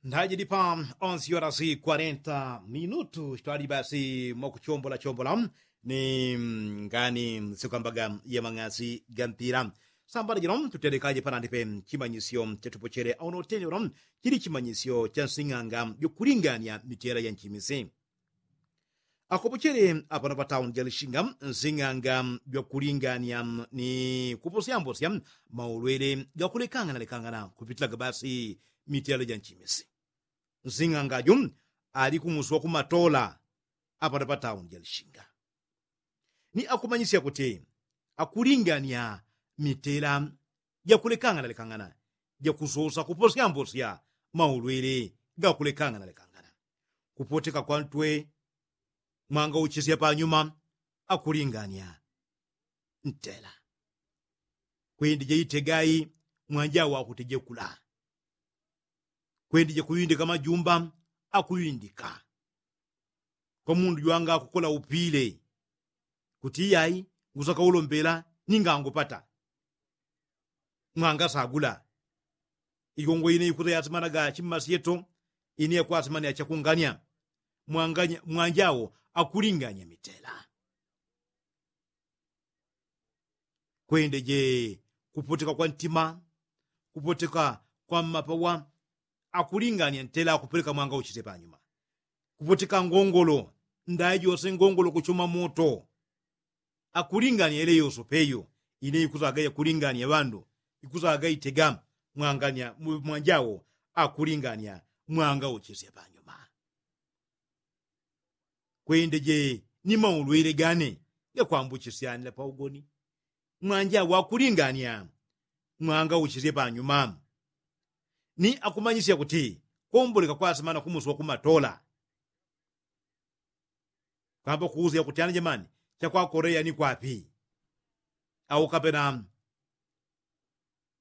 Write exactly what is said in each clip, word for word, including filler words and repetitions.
Ndajidi pa onsi orasi kwarenta minutu twali basi mwakuchombola chombola ni ngani sikwambaga ya mang'asi ga mpila. Sambala jino tutelekaje panandipe chimanyisyo chetupochele auno uteni uno chili chimanyisyo cha nsing'anga jukulingania mitela ya nchimisi. Akopochele apano pa tauni ja lishinga nsing'anga jwakulingania ni kuposyambosya maulwele gakulekangana lekangana kupitilaga basi mitela ja nchimisi. Nsing'anga ju ali kumusi wa kumatola apano pa tauni ja lishinga ni akumanyisya kuti akulingania mitela jakulekangana lekangana jakusosa kuposyambosya maulwele gakulekangana lekangana. Kupoteka kwa ntwe mwanga uchisya panyuma akulingania ntela. Kwendije itegai mwanja wakutejekula. Kwendije kuwindika majumba akuwindika kwa mundu jwanga kukola upile kuti iyai ngusaka ulombela ninga ngupata mwangasagula. Igongo ine ikuta yasimanaga chimmasyeto ine yakwasimania chakungania mwanjao akulingania mitela. Kwendeje kupoteka kwa ntima kupoteka kwa mmapawa akulingania ntela akupeleka mwanga uchise panyuma. Kupoteka ngongolo ndaye jose ngongolo kuchuma moto akulingania ile yoso peyo ine ikuzaga yakulingania ŵandu ikuzaga itega mwangania mwanjao akulingania mwanga uchise panyuma. Kwendeje ni maulwele gane gakwambuchisyanila paugoni mwanja wakulingania mwanga uchisye panyuma. Ni akumanyisya kuti komboleka kwasimana kumusi wakumatola. Kwamba kuusya kuti ana jamani chakwakoreya ni kwapi? Au kapena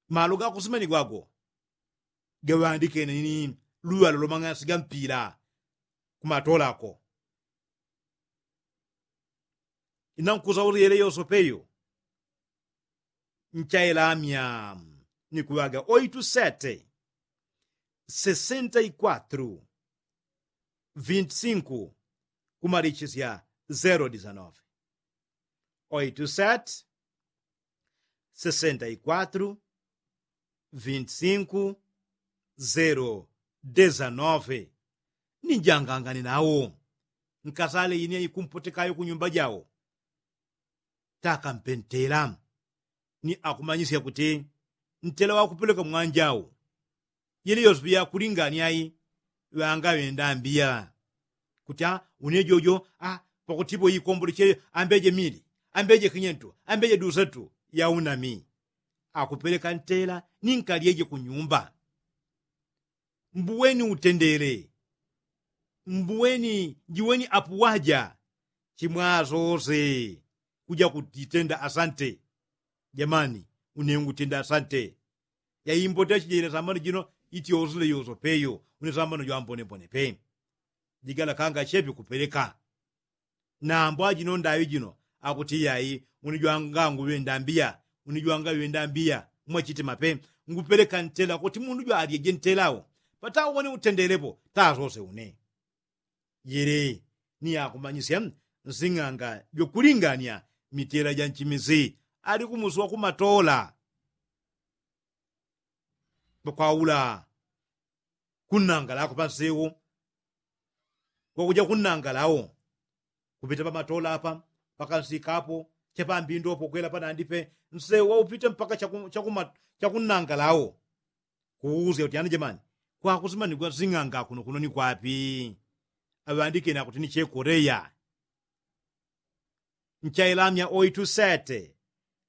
malo gakusimanigwago gaŵandikene ni luŵalo lomang'asi ga mpila kumatolako. Inankusa uti yele yoso peyo nchailamya ni kuŵaga oitu sete sesenta i kwatru vinti sinku kumalichisya zero disanove. Oitu sete sesenta i kwatru vinti sinku zero desanove. Ni njangangane nawo nkasale ine ikumpotekayo kunyumba jawo. Taka mpentela ni akumanyisya kuti ntela wakupeleka mwanjau yili yose piyakulingania i ŵanga ŵenda mbiya kuti a une jojo a pakutipo ikomboleche ambeje mili ambeje kinyentu ambeje dusatu ya unami. Akupeleka ntela ni nkalyeje kunyumba. Mbuweni utendele mbuweni jiweni apuwaja chimwasose kuja kutitenda asante. Jamani une ngutenda asante. Yaimbote achijele sambano jino iti yosule yoso peyo une sambano jwambonebone pe. Jigala kanga chepi kupeleka nambo ajino ndaŵi jino akuti iyai une jwanga nguŵenda mbiya une jwanga ŵenda mbiya mwachitima pe. Ngupeleka ntela kuti mundu jwalyeje ntela wo patawo wane utendelepo tasose une. Jele ni akumanyisya nsing'anga jwakulingania mitela ja nchimisi ali kumusi wakumatola. Pakwaula kunnangalako pansewo wakuja kunnangalawo kupita pamatola apa pakansikapo chapambindopo kwela panandipe nsewo waupite mpaka chakunnangalawo. Kuusya kuti ana jamani kwakusimanigwa nsing'anga kuno kuno ni kwapi? Aŵandikeni akuti ni chekoreya. Nchailamya oitu sete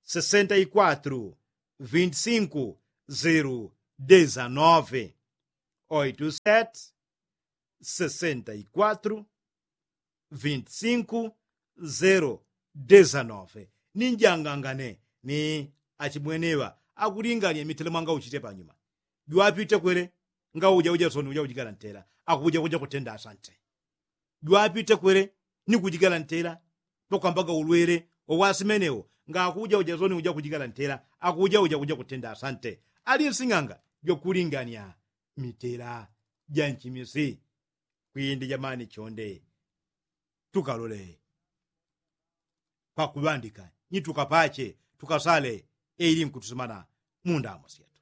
sesenta i kwatru vinti sinku zero desanove. Oitu sete sesenta i kwatru vinti sinku zero desanove. Ni njangangane ni achimweneŵa akulingania mitele mwanga uchite panyuma. Jwapite kwele ngauja uja soni uja ujigala ntela akuja kuja kutenda asante. Jwapite kwele ni kujigala ntela pakwambaga ulwele wawasimenewo ngakuja uja soni uja kujigala ntela akuja uja kuja kutenda asante. Ali nsing'anga jwakulingania mitela janchimisi kwindi jamani chonde tukalole pakuŵandika nyi tukapache tukasale eili nkutusimana mundamo syenu.